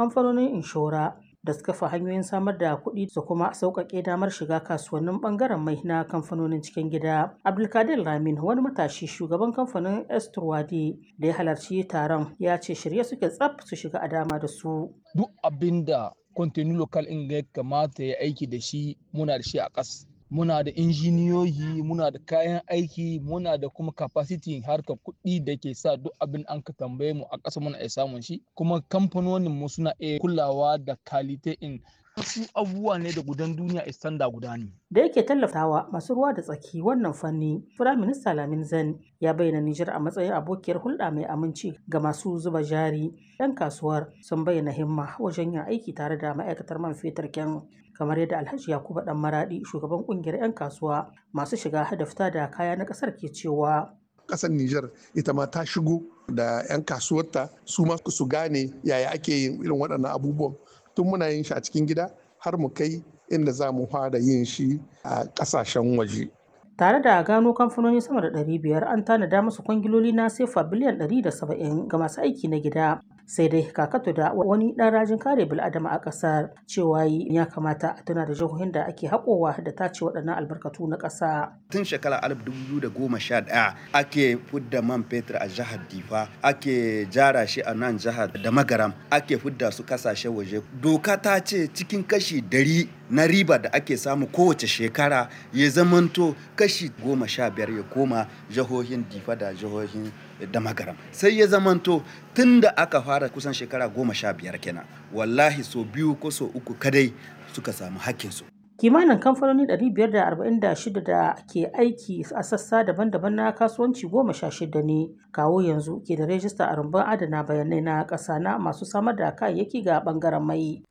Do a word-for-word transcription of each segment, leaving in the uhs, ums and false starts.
Kamfanonin inshora da su kafa hanyoyin samar da kuɗi su kuma sauƙaƙe damar shiga kasuwannin ɓangaren mai na kamfanonin cikin gida. Abdulkadir Lamin, wani matashi shugaban kamfanin Esturwadi da ya halarci taron, ya ce shirye suke tsaf su shiga a dama da su. Duk abin da kwantenu lokal in ya kamata ya aiki da shi, muna da shi a ƙas. Muna da injiniyoyi, muna da kayan aiki, muna da kuma capacity harkar kuɗi da ke sa duk abin an ka tambaye mu a ƙasa muna iya samun shi. Kuma kamfanonin mu suna iya kulawa da kalite in wasu abubuwa ne da gudan duniya standard guda ne. Da yake tallafawa masu ruwa da tsaki wannan fanni, Firaminista Lamin Zan ya bayyana Nijar a matsayin abokiyar hulɗa mai aminci ga masu zuba jari. 'Yan kasuwar sun bayyana himma wajen yin aiki tare da ma'aikatar man fetur ken, kamar yadda Alhaji Yakubu Dan Maradi, shugaban kungiyar 'yan kasuwa masu shiga da fita da kaya na ƙasar, ke cewa. Ƙasar Nijar ita ma ta shigo da 'yan kasuwarta, su ma su gane yaya ake yin irin waɗannan abubuwan, tun muna yin shi a cikin gida har mu kai inda za mu fara yin shi a ƙasashen waje. Tare da gano kamfanoni sama da ɗari biyar, an tanada musu kwangiloli na sefa biliyan ɗari da saba'in ga masu aiki na gida. Sai dai Kakato da wani ɗan rajin kare bil'adama a ƙasar cewa ya kamata a tuna da jihohin da ake haƙowa da tace waɗannan albarkatu na ƙasa. Tun shekara dubu biyu da goma sha ɗaya ake fudda man fetur a jihar Difa, ake jara shi a nan jihar da Magaram, ake fudda su kasashen waje. Doka ta ce cikin kashi dari na riba da ake samu kowace shekara, ya zamanto kashi goma sha biyar ya koma jihohin Difa da jihohin da Magaram. Sai ya zamanto tun da aka fara kusan shekara goma sha biyar kenan, wallahi so biyu ko so uku kadai suka samu hakkinsu. Kimanin kamfanoni ɗari biyar da arba'in da shida da ke aiki a sassa daban-daban na kasuwanci goma sha shida ne kawo yanzu ke da rajista a rumbun adana bayanai na ƙasa na masu samar da kayayyaki ga ɓangaren mai.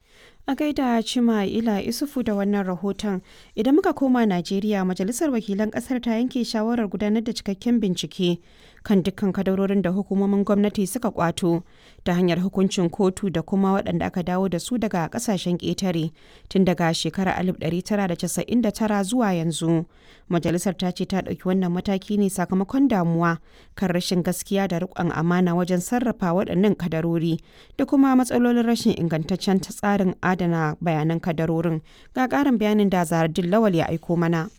A gaida Cima Ila Isufu da wannan rahoton. Idan muka koma Najeriya, Majalisar Wakilan Kasar ta yanke shawarar gudanar da cikakken bincike kan dukkan kadarorin da hukumomin gwamnati suka kwato ta hanyar hukuncin kotu da kuma waɗanda aka dawo da su daga ƙasashen ƙetare tun daga shekarar alif ɗari tara da casa'in da tara zuwa yanzu. Majalisar ta ce ta ɗauki wannan mataki ne sakamakon damuwa kan rashin gaskiya da riƙon amana wajen sarrafa waɗannan kadarori da kuma matsalolin rashin ingantaccen tsarin adana bayanan kadarorin. Ga ƙarin bayanin da Zahardin Lawal ya aiko mana.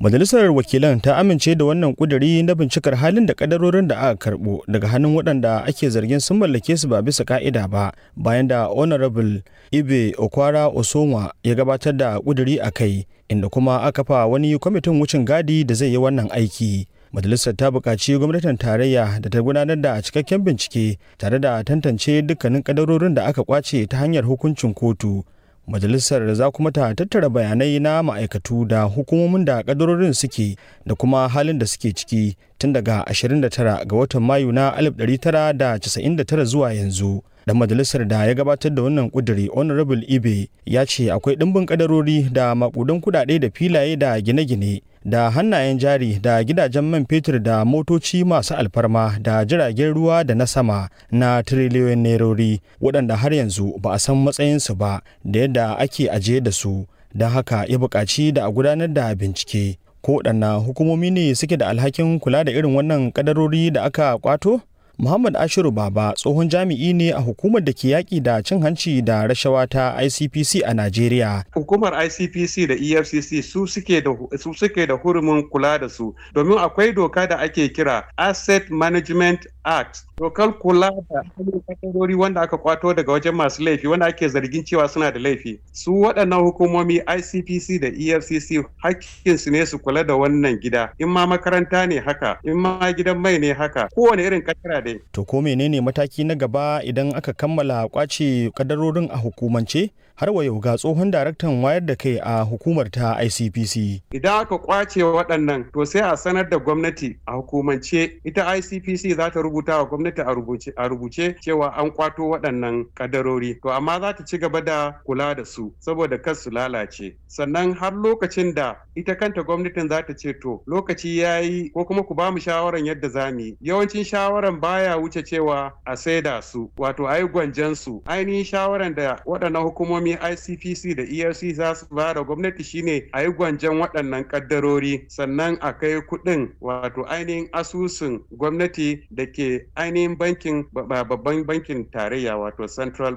Majalisar Wakilan ta amince da wannan kuduri na bincikar halin da kadarorin da aka karbo daga hannun waɗanda ake zargin sun mallake su ba bisa ka'ida ba, bayan da Honorable Ibe Okwara Osonwa ya gabatar da kuduri a kai, inda kuma aka fa wani kwamitin wucin gadi da zai yi wannan aiki. Majalisar ta buƙaci gwamnatin tarayya da ta gudanar da cikakken bincike tare da tantance dukkanin kadarorin da aka kwace ta hanyar hukuncin kotu. Majalisar za kuma ta tattara bayanai na ma'aikatu da hukumomin da kadarorin suke da kuma halin da suke ciki tun daga ashirin da tara ga watan Mayu na alif ɗari tara da casa'in da tara zuwa yanzu. Dan majalisar da ya gabatar da wannan kuduri, Honorable Ibe, ya ce akwai ɗimbin kadarori da makudan kudade da filaye da gine-gine da hannayen jari da gidajen man fetur da motoci masu alfarma da jiragen ruwa da na sama na tiriliyoyin nerori waɗanda har yanzu ba a san matsayinsu ba da yadda ake ajiye da su. Don haka ya buƙaci da a gudanar da bincike. Ko waɗanna hukumomi ne suke da alhakin kula da irin wannan kadarori da aka kwato? Muhammad Ashiru Baba tsohon jami'i ne a hukumar da ke yaƙi da cin hanci da rashawa ta I C P C a Najeriya. Hukumar I C P C da E F C C su suke da su suke da hurumin kula da su, domin akwai doka da ake kira Asset Management Act. Dokar kula da kadarori wanda aka kwato daga wajen masu laifi, wanda ake zargin cewa suna da laifi. Su waɗannan hukumomi I C P C da E F C C hakkinsu ne su kula da wannan gida. In ma makaranta ne haka, in ma gidan mai ne haka, kowane irin kadara dai. To ko menene mataki na gaba idan aka kammala kwace kadarorin a hukumance? Har wa yau ga tsohon daraktan wayar da kai a hukumar ta I C P C. Idan aka kwace waɗannan, to sai a sanar da gwamnati a hukumance. Ita I C P C za ta rubuta wa gwamnati a rubuce a rubuce cewa an kwato waɗannan kadarori. To amma za ta ci gaba da kula da su saboda kar su lalace. Sannan har lokacin da ita kanta gwamnatin za ta ce to lokaci ya yi, ko kuma ku ba mu shawaran yadda za mu yi. Yawancin shawaran baya wuce cewa a saida su, wato a yi gwanjan su. Ainihin shawaran da waɗannan hukumomi I C P C da E F C za su ba da gwamnati shine a yi gwanjan waɗannan kaddarori, sannan a kai kuɗin wato ainihin asusun gwamnati da ke ainihin bankin babban bankin tarayya, wato Central